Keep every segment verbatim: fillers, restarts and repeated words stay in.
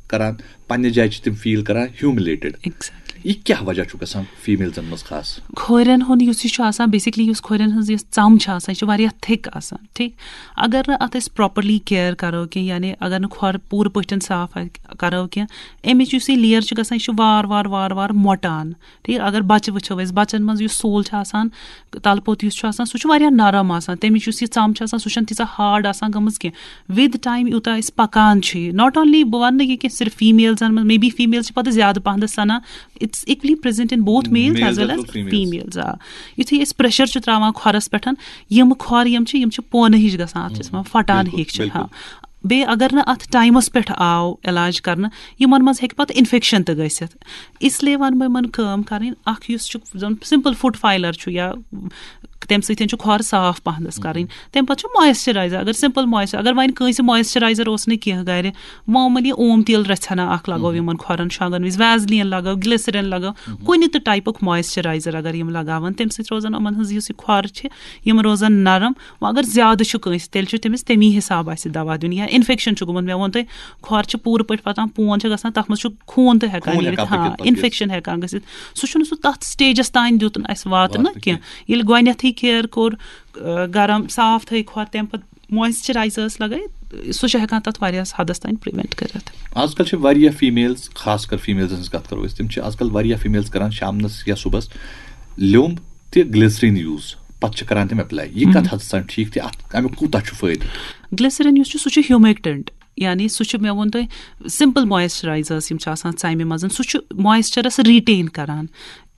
کران، پننہِ جایہِ چھِ تِم فیٖل کران ہیوٗملیٹڈ۔ ایگزیکٹلی۔ یہِ کیٛاہ وجہ چھُ گژھان فیٖمیلزن منٛز خاص؟ کھورٮ۪ن ہُنٛد یُس یہِ چھُ آسان، بیسکلی یُس کھورٮ۪ن ہٕنٛز یۄس ژم چھِ آسان، یہِ چھِ واریاہ تھِک آسان، ٹھیٖک۔ اگر نہٕ اَتھ أسۍ پراپرلی کیئر کرو کینٛہہ، یعنی اگر نہٕ کھۄر پوٗرٕ پٲٹھۍ صاف آ-، کرو کینٛہہ، اَمِچ یُس یہِ لیر چھِ گژھان، یہِ چھِ وار وار وار وار مۄٹان، ٹھیٖک۔ اگر بچہِ وٕچھو أسۍ، بچن منٛز یُس سول چھُ آسان، تلہٕ پوٚت یُس چھُ آسان، سُہ چھُ واریاہ نرم آسان، تَمِچ یُس یہِ ژم چھِ آسان، سُہ چھَنہٕ تیٖژاہ ہارڈ آسان گٔمٕژ کینٛہہ۔ وِد ٹایم یوٗتاہ أسۍ پکان چھِ، ناٹ اونلی، بہٕ وَنہٕ نہٕ یہِ کینٛہہ صرف فیٖمیلزن منٛز، مے بی فیٖمیل چھِ پتہٕ زیادٕ پہنتھ سنان، it's equally present in both males Males as well as as well females. females. آ، یُتھُے أسۍ پریشر چھِ تراوان کھۄرس پٮ۪ٹھ، یِم کھۄر یِم چھِ، یِم چھِ پونہٕ ہِش گژھان، اَتھ چھِ أسۍ وَنان پھٹان بِلکُل، ہِش چھِ۔ بِلکُل۔ ہاں، بیٚیہِ اگر نہٕ اَتھ ٹایمَس پٮ۪ٹھ آو علاج کرنہٕ، یِمن منٛز ہیٚکہِ پَتہٕ اِنفیکشن تہِ گٔژھِتھ۔ اس لیے وَنہٕ بہٕ یِمن کٲم کَرٕنۍ، اکھ یُس چھُ زَن سِمپٕل فُٹ فایلر چھُ، یا تَمہِ سۭتۍ چھُ کھۄر صاف پَہنَس کَرٕنۍ۔ تَمہِ پَتہٕ چھُ مویسچرایزر، اگر سِمپٕل مویسچر، اگر وۄنۍ کٲنٛسہِ مویسچرایزر اوس نہٕ کینٛہہ گرِ، معموٗلی اوم تیٖل رَژھِ ہنا اکھ لگٲو یِمن کھۄرن شۄنٛگن وِزِ، ویزلین لگٲو، گلیسرین لگٲو، کُنہِ تہِ ٹایپُک مویسچرایزر اگر یِم لگاوَن، تَمہِ سۭتۍ روزن یِمن ہٕنٛز یُس یہِ کھۄر چھِ، یِم روزن نرم۔ وۄنۍ اگر زیادٕ چھُ کٲنٛسہِ، تیٚلہِ چھُ تٔمِس تَمی حساب اَسہِ دوا دیُن۔ یا اِنفیکشن چھُ گوٚمُت، مےٚ ووٚن تۄہہِ، کھۄر چھِ پوٗرٕ پٲٹھۍ پَتان، پون چھِ گژھان، تَتھ منٛز چھُ خوٗن تہِ ہٮ۪کان خوٗن نیٖرِتھ، ہٮ۪کان ہاں، پٔکِتھ پَتہٕ۔ اِنفیکشن ہٮ۪کان گٔژھِتھ۔ سُہ چھُنہٕ سُہ تَتھ سٹیجَس تام دیُت نہٕ اَسہِ واتنہٕ واتنہٕ کینٛہہ۔ ییٚلہِ گۄڈٕنٮ۪تھٕے کیئر کوٚر، آ، گرم صاف تھٲے کھۄر، تَمہِ پَتہٕ مویسچرایزٲرٕس لگٲے، سُہ چھُ ہٮ۪کان تَتھ واریاہَس حدَس تام پرٛوینٹ کٔرِتھ۔ آز کل چھِ واریاہ فیٖمیلز، خاص کر فیٖمیلزن ہٕنٛز کَتھ کَرو أسۍ، تِم چھِ آز کل واریاہ فیٖمیلز کران شامنَس یا صُبحَس لیوٚمب تہٕ گلیسرین یوٗز، پَتہٕ چھِ کران تِم اپلاے۔ یہِ کَتھ حدَس تام ٹھیٖک تہٕ اَتھ، اَمیُک کوٗتاہ چھُ فٲیدٕ؟ گلیسرین یُس چھُ، سُہ چھُ ہیوٗمیکٹنٹ، یعنی سُہ چھُ، مےٚ ووٚن تۄہہِ، سِمپٕل مویسچرایزٲرٕس یِم چھِ آسان ژَمہِ منٛز، سُہ چھُ مویسچرَس ریٹین کران۔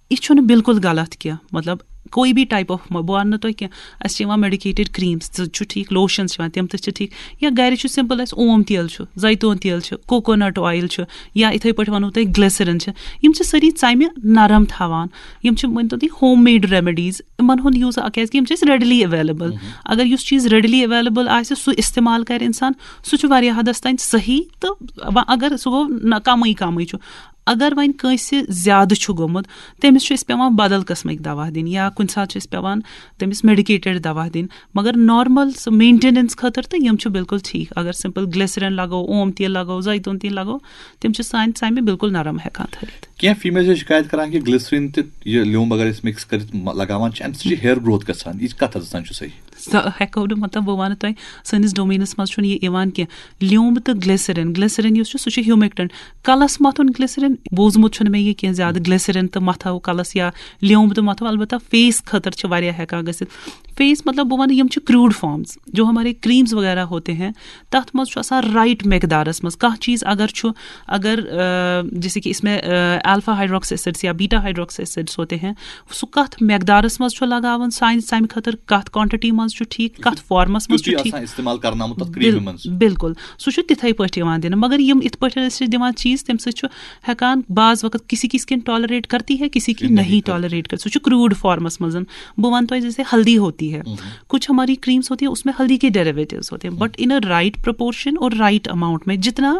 یہِ چھُنہٕ بالکل غلط کینٛہہ، مطلب کوئی بھی ٹائپ آف، بہٕ وَنہٕ نہٕ تۄہہِ کینٛہہ، اَسہِ چھِ یِوان میڈیکیٹڈ کریٖمز تہِ چھُ ٹھیٖک، لوشنز چھِ یِوان، تِم تہِ چھِ ٹھیٖک، یا گرِ چھُ سِمپٕل اَسہِ اوم تیٖل چھُ، زیتون تیٖل چھُ، کوکونٹ آیِل چھُ، یا یِتھَے پٲٹھۍ وَنو تۄہہِ گلیسرین چھِ، یِم چھِ سٲری ژَمہِ نرم تھاوان۔ یِم چھِ، مٲنۍ تو تُہۍ، ہوم میڈ ریمیڈیٖز، یِمن ہُنٛد یوٗز، کیازِ کہِ یِم چھِ اَسہِ ریڈلی ایویلیبل۔ اگر یُس چیٖز ریڈلی ایویلیبل آسہِ، سُہ استعمال کرِ انسان، سُہ چھُ واریاہ حدس تام صحیح۔ تہٕ وۄنۍ اگر سُہ گوٚو نہ، کمٕے کمٕے چھُ۔ اگر وۄنۍ کٲنٛسہِ زیادٕ چھُ گوٚمُت، تٔمِس چھُ اَسہِ پٮ۪وان بدل قٕسمٕکۍ دوا دِنۍ، یا کُنہِ ساتہٕ چھُ اَسہِ پٮ۪وان تٔمِس میڈیکیٹڈ دوا دِنۍ۔ مگر نارمل سُہ مینٹیننس خٲطرٕ تہٕ یِم چھِ بالکل ٹھیٖک۔ اگر سِمپل گلیسرین لگو، اوم تیٖل لگو، زیتون تیٖل لگو، تِم چھِ سانہِ ژَمہِ بالکل نرم ہٮ۪کان تھٲیِتھ۔ کینٛہہ فیٖمیل چھِ شِکایت کران کہِ گلیسرین تہٕ یہِ لیوٚمب اگر أسۍ مِکس کٔرِتھ م-، لگاوان چھِ، اَمہِ سۭتۍ چھِ ہیئر گروتھ گژھان۔ یہِ کَتھ حدس تام چھُ صحیح؟ سۄ ہٮ۪کو نہٕ، مطلب، بہٕ وَنہٕ تۄہہِ، سٲنِس ڈومینس منٛز چھُنہٕ یہِ یِوان کینٛہہ۔ لیوٚمب تہٕ گلیسرین، گلیسرین یُس چھُ، سُہ چھُ ہیوٗمیکٹنٹ۔ کلس مَتھُن گلیسرین، بوٗزمُت چھُنہٕ مےٚ یہِ کینٛہہ زیادٕ، گلیسرین تہٕ مَتھو کلس یا لیوٚمب تہٕ مَتھو۔ البتہ فیس خٲطرٕ چھِ واریاہ ہٮ۪کان گٔژھِتھ۔ فیس، مطلب، بہٕ وَنہٕ، یِم چھِ کروٗڈ فارمز، جو ہمارے کریمز وغیرہ ہوتے ہیں، تَتھ منٛز چھُ آسان رائٹ مقدارس منٛز۔ کانٛہہ چیٖز اگر چھُ، اگر، آ، جیسے کہ اس میں، آ، الفا ہائیڈروکسی ایسڈز یا بیٹا ہائیڈروکسی ایسڈز ہوتے ہیں، سُہ کَتھ مقدارس منٛز چھُ لگاوُن سانہِ ژَمہِ خٲطرٕ، کَتھ کوانٹٹی منٛز چھُ ٹھیٖک، کَتھ فارمس منٛز چھُ تیُتُے ٹھیٖک۔ آسان استعمال کرناومُت تَتھ کریٖمہِ بِل-، منٛز۔ بِلکُل، سُہ چھُ تِتھَے پٲٹھۍ یِوان دِنہٕ۔ مگر یِم اِتھ پٲٹھۍ أسۍ چھِ دِوان چیٖز، تَمہِ سۭتۍ چھُ ہٮ۪کان بعض وقت کسی کی سکن ٹالریٹ کرتی ہے، کسی کی کسی نہیں نہیں کرتی۔ ٹالریٹ کر، سُہ چھُ کروٗڈ فارمس منٛز۔ بہٕ وَنہٕ تۄہہِ، جیسے ہلدی ہوتی ہے، کچھ ہماری کریمز ہوتی ہے، اس میں ہلدی کے ڈیریویٹیوز ہوتے ہیں، but in a right proportion اور رائٹ اماؤنٹ میں جتنا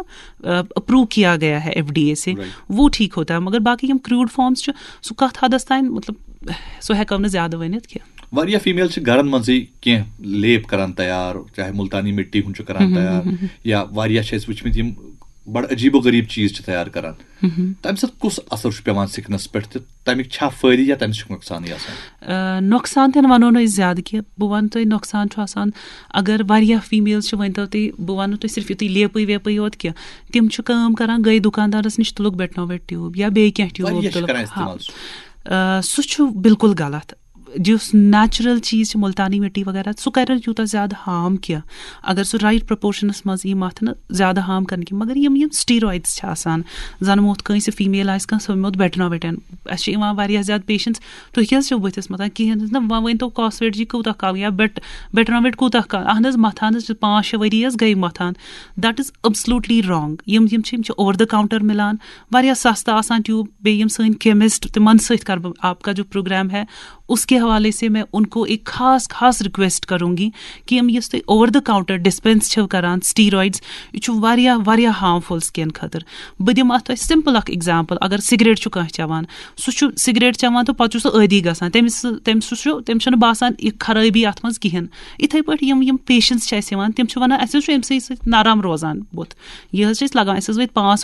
اپروو کیا گیا ہے ایف ڈی اے سے، Right۔ وہ ٹھیک ہوتا ہے۔ مگر باقی یِم کروٗڈ فارمز چھِ، سُہ کَتھ حدس تام، مطلب، سُہ ہٮ۪کو نہٕ زیادٕ ؤنِتھ کینٛہہ۔ واریاہ فیٖمیل چھِ گرن منٛزٕے کینٛہہ لیپ کران تیار، چاہے مُلتانی مِٹی ہُنٛد چھُ کران تیار، یا واریاہ چھِ اَسہِ وٕچھمٕتۍ یِم بڑٕ عجیٖب و غریٖب چیٖز چھِ تیار کران۔ تَمہِ سۭتۍ کُس اثر چھُ پٮ۪وان سِکنس پٮ۪ٹھ تہٕ تَمِکۍ چھا فٲیدٕ یا تَمہِ سۭتۍ چھُ نۄقصانٕے آسان؟ آ، نۄقصان تہِ نہٕ وَنو نہٕ أسۍ زیادٕ کینٛہہ۔ بہٕ وَنہٕ تۄہہِ، نۄقصان چھُ آسان، اگر واریاہ فیٖمیلز چھِ، ؤنۍ تو تُہۍ، بہٕ وَنہٕ تۄہہِ صرف یُتُے لیپٕے ویپٕے یوت کینٛہہ، تِم چھِ کٲم کران، گٔے دُکاندارَس نِش، تُلُکھ بیٹنوویٹ ٹیوٗب یا بیٚیہِ کینٛہہ ٹیوٗب واریاہ چھِ تُلُکھ۔ کران ہاں۔ استعمال سُہ۔ آ، سُہ چھُ بالکل غلط۔ یُس نیچرل چیٖز چھِ، مُلتانی مِٹی وغیرہ، سُہ کَرِ نہٕ یوٗتاہ زیادٕ ہارم کینٛہہ۔ اگر سُہ رائٹ پروپورشنس منٛز یی مَتھنہٕ، زیادٕ ہارم کَرنہٕ کینٛہہ۔ مگر یِم، یِم سٹیرایڈز چھِ آسان، زَن موتھ کٲنٛسہِ فیٖمیل آسہِ، کانٛہہ سۄ موتھ بیٹنوویٹن۔ اَسہِ چھِ یِوان واریاہ زیادٕ پیشنٹس، "تُہۍ کیٛازِ چھِو بٕتھِس مَتھان کِہیٖنۍ نہٕ؟ وۄنۍ ؤنۍ تو کاسویٹ جی کوٗتاہ کال یا بیٹ-، بیٹنوویٹ کوٗتاہ کال؟" اہن حظ، مَتھان حظ چھِ، پانٛژھ شےٚ ؤری حظ گٔے مَتھان۔ That is absolutely wrong۔ یِم، یِم چھِ، یِم چھِ اوور دا کاؤنٹر مِلان، واریاہ سَستہٕ آسان ٹیوٗب۔ بیٚیہِ یِم سٲنۍ کیمسٹ، تِمن سۭتۍ کَرٕ بہٕ آپ کا جو پروگرام ہے، اس کے حوالے سے میں ان کو ایک خاص، خاص ریکویسٹ کروں گی کہ یِم یُس تُہۍ اوور دا کاؤنٹر ڈسپینس چھِو کران، سٹیرایڈز، یہِ چھُ واریاہ، واریاہ ہارمفل سکن خٲطرٕ۔ بہٕ دِمہٕ اَتھ تۄہہِ سِمپل اکھ ایگزامپل۔ اگر سگریٹ چھُ کانٛہہ چٮ۪وان، سُہ چھُ سگریٹ چٮ۪وان تہٕ پتہٕ چھُ سُہ عٲدی گژھان، تٔمِس، تٔمِس سُہ چھُ، تٔمِس چھُنہٕ باسان یہِ خرٲبی اَتھ منٛز کِہیٖنۍ۔ یِتھَے پٲٹھۍ یِم، یِم پیشنٹس چھِ اَسہِ یِوان، تِم چھِ وَنان، "اَسہِ حظ چھُ اَمہِ سۭتۍ سۭتۍ نرم روزان بُتھ، یہِ حظ چھِ اَسہِ لگان، اَسہِ حظ وٲتۍ پانٛژھ